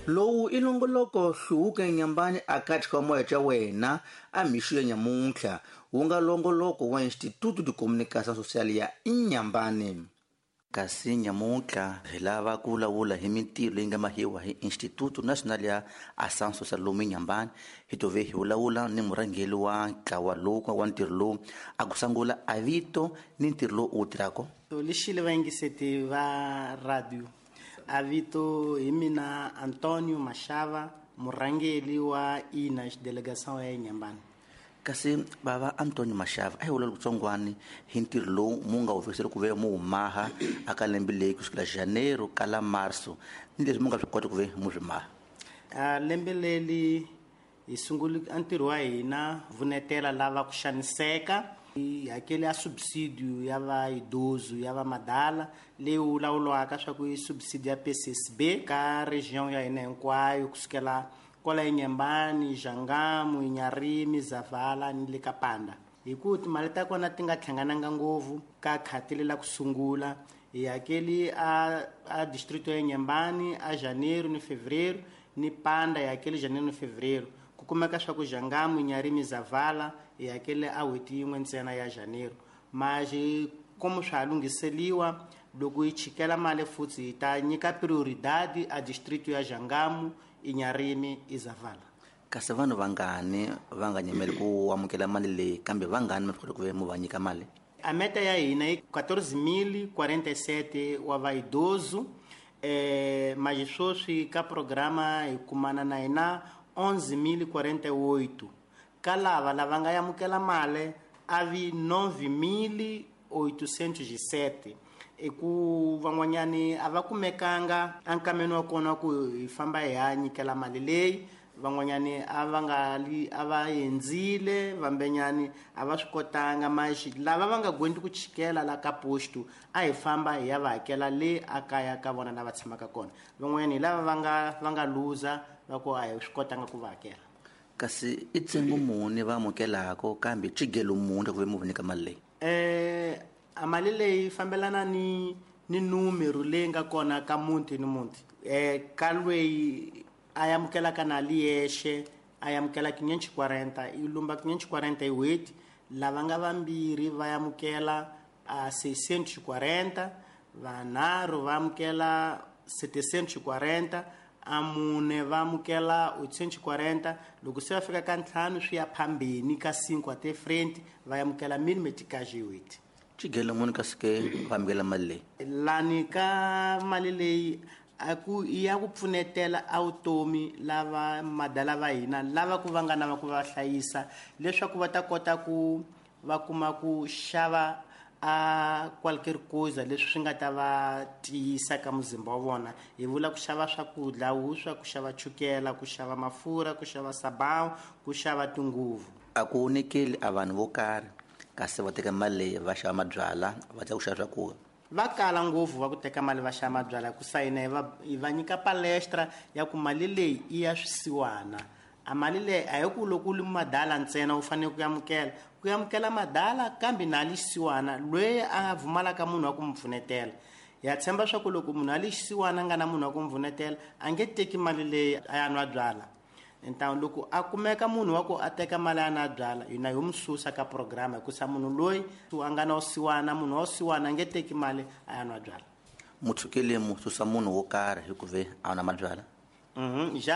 Lowu i nongoloko hluvuka Inhambane akathi ka moya xa wena a mixo ya nyamuntlha wu nga longoloko wa Instituto de Comunicação Social ya Inhambane. Kasi nyamuntlha hi lava ku vulavula hi mintirho leyi nga mahiwa hi Instituto Nacional ya Ação Social lomu Inhambane. Hi tove hi vulavula ni murhangeri wa ntlawa lowu wa ntirho lowu a ku sungula a vito ni ntirho lowu u wu tirhaka. Lexi vayingiseti va radio, a vito hi mina Antonio Mashava, murhangeri wa INAS delegação ya Inhambane. Kasi bava Antonio Mashava, a hi vulavula kutsongwani hi ntirho lowu mu nga wu fikiseli ku ve mu wu maha aka lembe leyi kusukela janeiro kala marso, ni leswi mu nga swi kota ku ve mu swi maha. A lembe leri hi sungule a ntirho wa hina vunetela lava ku xaniseka, hi hakele a subsidio ya va idoso ya va madala leyi vulavuriwaka swa ku i subsidio ya PCSB ka region ya hina hinkwayo kusukela kwala Inhambane, Jangamo, Inharime, Zavala ni le ka Panda. Hi ku timali ta kona ti nga hlangananga ngopfu ka khati lela ku sungula, hi hakeli a distrito ya Inhambane a janeiro ni fevereiro, ni Panda hi hakeli janeiro ni fevereiro. Ku kumeka swa ku Jangamo, Inharime, Zavala hi hakele a n'hweti yin'we ntsena ya janeiro. Mas como swa ha lunghiseliwa, loko hi chikela mali futhi hi ta nyika prioridade a distrito ya Jangamo, Inharime i Zavala. Kasi vanhu vangani va nga nyimeli ku amukela mali leyi, kambe vangani mi kota ku ve mu va nyika mali? A meta ya hina i 14.047 wa vaidoso, mas sweswi ka programa hi kumana na hina 11.048. Ka lava lava nga amukela mali a vi 9.807. I ku van'wanyani a va kumekanga enkameni wa kona ku hi famba hi ya nyikela mali leyi, van'wanyani a va nga li, a va endzile, vambenyani a va swi kotanga. Mas lava va nga gwendi ku chikela la ka posto a hi famba hi ya va hakela le a kaya ka vona lava tshamaka kona. Van'wanyani hi lava va nga luza va ku a hi swi kotanga ku va hakela. Kasi i ntsengo muni va amukelaka, kambe xigelo muni ku ve mu va nyika mali leyi? A mali leyi fambelana ni numero leyi nga kona ka muti ni muti. Ka loyi a amukelaka na li yexe, a amukela 540, i lumba 540 hi n'hweti. Lava nga vambirhi va amukela a 640, vanharhu va amukela 740, a mune va amukela 840. Loko se va fika ka ntlhanu swi ya phambeni ka 5 até frente, va amukela 1000 meticage hi n'hweti. Xigelo muni kasi ke va amukela mali leyi? Lani ka mali leyi a ku i ya ku pfunetela a vutomi lava madala va hina lava ku va nga na va ku va hlayisa, leswaku va ta kota ku va kuma ku xava a qualquer coisa leswi swi nga ta va tiyisa ka muzimba wa vona. Hi vula ku xava swakudya, vuswa, ku xava chukela, ku xava mafurha, ku xava sabão, ku xava tinguvu. A ku nyikeli a vanhu vo karhi kasi va teka mali leyi va xava mabyalwa, va ta ku xava swakudya. Va kala ngopfu va ku teka mali va xava mabyalwa, ku sayina hi va nyika palestra ya ku mali leyi i ya swisiwana. A mali leyi a hi ku loko u ri madala ntsena u fanele ku amukela, ku amukela madala kambe na li xisiwana loyi a pfumalaka munhu wa ku n'wi pfunetela. Ya tshemba swa ku loko munhu a li xisiwana a nga na munhu wa ku n'wi pfunetela a nge teki mali leyi a ya nwa byalwa. Então loko a kumeka munhu wa ku a teka mali a nwa byalwa, hina hi n'wi susa ka programa, hikusa munhu loyi a nga na vusiwana, munhu wa vusiwana a nge teki mali a ya nwa byalwa. Mutshukele mu susa munhu wo karhi hi ku ve a nwa mabyalwa? Ja.